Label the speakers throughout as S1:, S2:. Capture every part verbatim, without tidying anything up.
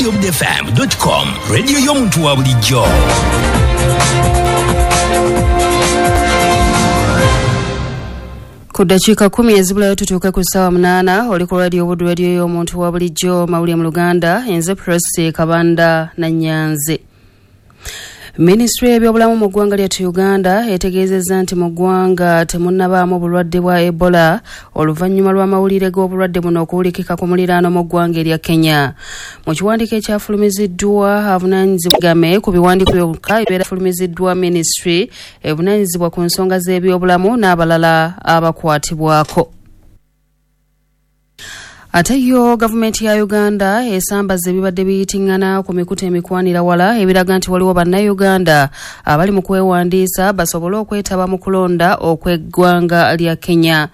S1: radio fm com, radio y'omuntu wa bulijjo.
S2: Ku ddakiika kumi ezibulayo tutuuke ku ssaawa munaana, oli ku Radio Buddu, radio y'omuntu wa bulijjo, mawulire mu Luganda, enze Prosi Kabanda Nannyanzi. Minisitule y'ebyobulamu mu ggwanga lyattu Uganda etegeezezza nti mu ggwanga temunnabaamu bulwadde bwa Ebola oluvannyuma lw'amawulire g'obulwadde buno okuwulikika ku muliraano mu ggwanga erya Kenya. Mu kiwandiiko ekyafulumiziddwa avunaanyizibwa game ku biwandiiko byokka ebyafulumiziddwa minisitule evunaanyizibwa ku nsonga z'ebyobulamu n'abalala abakwatibwako. Ate yo gavumenti ya Uganda esambaza ebibadde biyitingana ku mikutu emikwanira wala ebiraga nti waliwo bannayuganda abali mu kwewandiisa basobole okwetaba mu kulonda okw'eggwanga lya Kenya.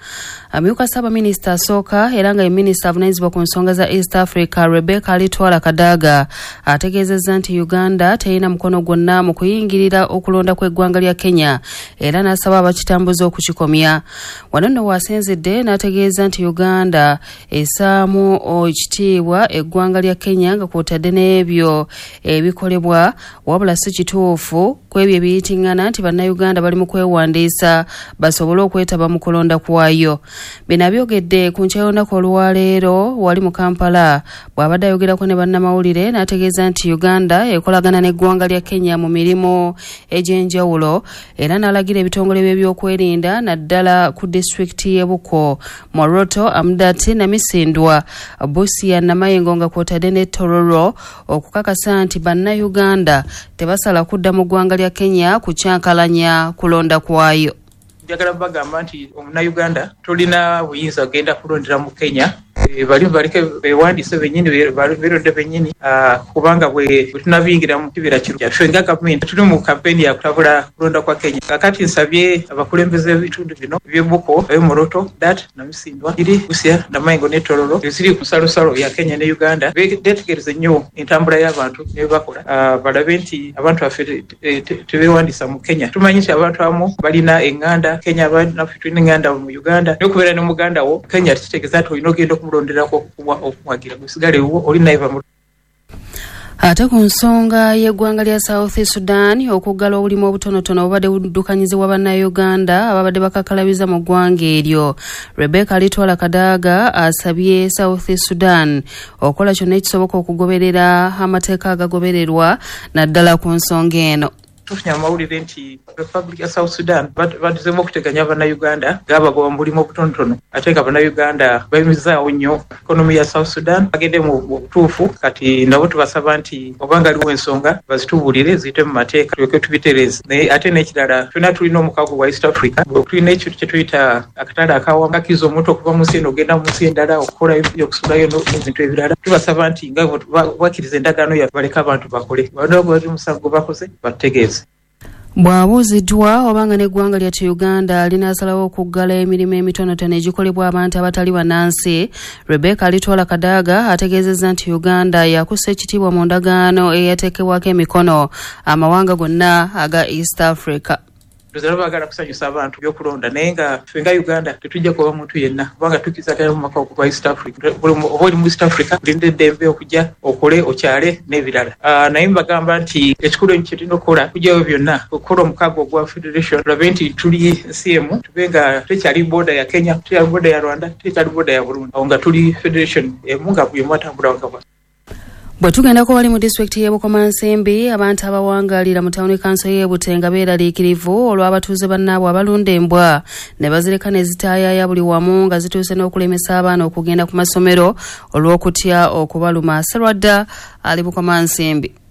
S2: Amyuka ssaabaminisita asooka era nga ye minisita avunaanyizibwa ku nsonga za East Africa Rebecca Alitwala Kadaga ategeezezza nti Uganda terina mukono gwonna mu kuyingirira okulonda kw'eggwanga lya Kenya era n'asaba abakitambuza okukikomya. Wano nno waasinzidde n'ategeeza nti Uganda essaamu ekitiibwa eggwanga lya Kenya nga kw'otadde n'ebyo ebikolebwa, wabula si kituufu ku ebyo ebiyitingana nti bannayuganda bali mu kwewandiisa basobole okwetaba mu kulonda kwayo. Bino abyogedde ku nkya y'olunaku olwaleero wali mu Kampala bw'abadde ayogerako ne bannamawulire n'ategeeza nti Uganda ekolagana n'eggwanga lya Kenya mu mirimu egy'enjawulo era n'alagira ebitongole by'ebyokwerinda naddala ku disitulikiti y'e Bukwo, Moroto, Amdati, Namisindwa, Busia, Namayengo nga kw'otadde ne Tororo okukakasa nti bannayuganda tebasala kudda mu ggwanga lya Kenya kukyankalanya kulonda kwayo.
S3: Njagala bagamba nti omunnayuganda tolina buyinza kugenda kulondera mu Kenya, bali baleke bewandiise bennyini, beeronde bennyini, kubanga bwe tunabiyingira mu kibira kiro kyaffe nga gavumenti tuli mu kampeyini ya kutabula kulonda kwa Kenya. Kakati nsabye abakulembeze b'ebitundu bino eby'Ebuko, eby'Moroto, Dat, Namisindwa, Iri, Busia, Namayengo ne Tororo eziri ku nsalosalo ya Kenya ne Uganda, beetegereze nnyo entambula y'abantu ne bye bakola, balabe nti abantu baffe tebeewandiisa mu Kenya. Tumanyi nti abantu abamu balina eŋŋanda Kenya, naffe tulina eŋŋanda mu Uganda, naye okubeera ne muganda wo Kenya tekitegeeza nti olina ogenda okumulonderako okumuwagira, gusigale wo oli naye bamu.
S2: Ate ku nsonga y'eggwanga lya South Sudan okuggala obulimu obutonotono obubadde buddukanyizibwa bannayuganda ababadde bakakalabiza mu ggwanga eryo, Rebecca Alitwala Kadaga asabye South Sudan okukola kyonna ekisoboka okugoberera amateeka agagobererwa naddala ku nsonga eno.
S3: Tufunye amawulire nti Republic ya South Sudan baduzeemu okuteganya bannayuganda ng'abagoba mu bulimu obutonotono, ate nga bannayuganda bayimirizaawo nnyo economy ya South Sudan. Bagende mu butuufu, kati nabo tubasaba nti obanga aliwo ensonga bazitubuulire ziyite mu mateeka tulyoke tubitereeze. Naye ate n'ekirala, ffenna tulina omukago gwa East Africa, tulina ekintu kye tuyita akatale akawamu kakkiriza omuntu okuva mu nsi eno ogenda mu nsi endala okukolayo okusulayo n'ebintu ebirala. Tubasaba nti nga bakkiriza endagaano yaffe baleke abantu bakole, bali omusango bakoze batutegeeze.
S2: Bw'abuuziddwa obanga n'eggwanga lyattu Uganda linaasalawo okuggala emirimu emitonotono egikolebwa abantu abatali bannansi, Rebecca Alitwala Kadaga ategeezezza nti Uganda yakussa ekitiibwa mu ndagaano eyateekebwako emikono amawanga gonna aga East Africa.
S3: Ndoza baagala kusanyusa abantu by'okulonda, naye nga ffe nga Uganda tetujja kuba muntu yenna kubanga tukkiriza mu maka okuva East Africa. Oba oli mu East Africa olina eddembe okujja okole okyale n'ebirala. Naye mbagamba nti ekikulu kye tulina okukola kujjayo byonna okukola omukago ogwa federation, tulabe nti tuli nsi emu, tube nga tekyali booda ya Kenya, tekyali booda ya Rwanda, tekyali booda ya Burundi, awo nga tuli federation emu nga buli omu atambula wakaba.
S2: Bwe tugendako wali mu disitulikiti y'e Bukomansimbi, abantu abawangaalira mu tawuni kanso y'e Butenga beeraliikirivu olw'abatuuze bannaabwe abalunda embwa ne bazireka ne zitaayaaya buli wamu nga zituuse n'okulemesa abaana okugenda ku masomero olw'okutya okubaluma. Serwadda ali Bukomansimbi.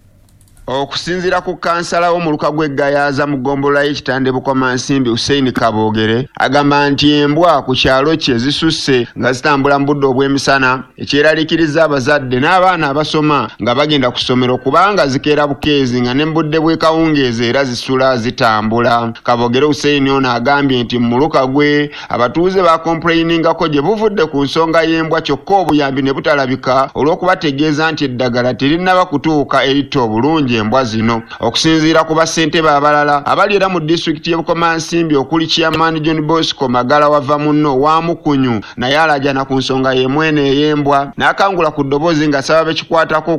S4: Okusinziira ku kansala w'omuluka gw'Eggayaaza mu ggombolola y'Ekitande Bukomansimbi Hussein Kaboogere agamba nti embwa ku kyalo kye zisusse nga zitambula mu budde obw'emisana, ekyeraliikiriza abazadde n'abaana abasoma nga bagenda ku ssomero kubanga zikeera bukeezi nga ne mu budde bw'ekawungeezi era zisula zitambula. Kaboogere Hussein ono agambye nti mu muluka gwe abatuuze bakompulayiningako gye buvudde ku nsonga y'embwa kyokka obuyambi ne butalabika olw'okubategeeza nti eddagala terinnaba kutuuka eritta obulungi embwa zino. Okusinziira ku bassentebe abalala abali era mu disitulikiti y'e Bukomansimbi okuli Chairman John Bosco Magala wava munno wa Mukunyu naye alaajana ku nsonga y'emwene ey'embwa n'akangula ku ddoboozi ng'asaba bekikwatako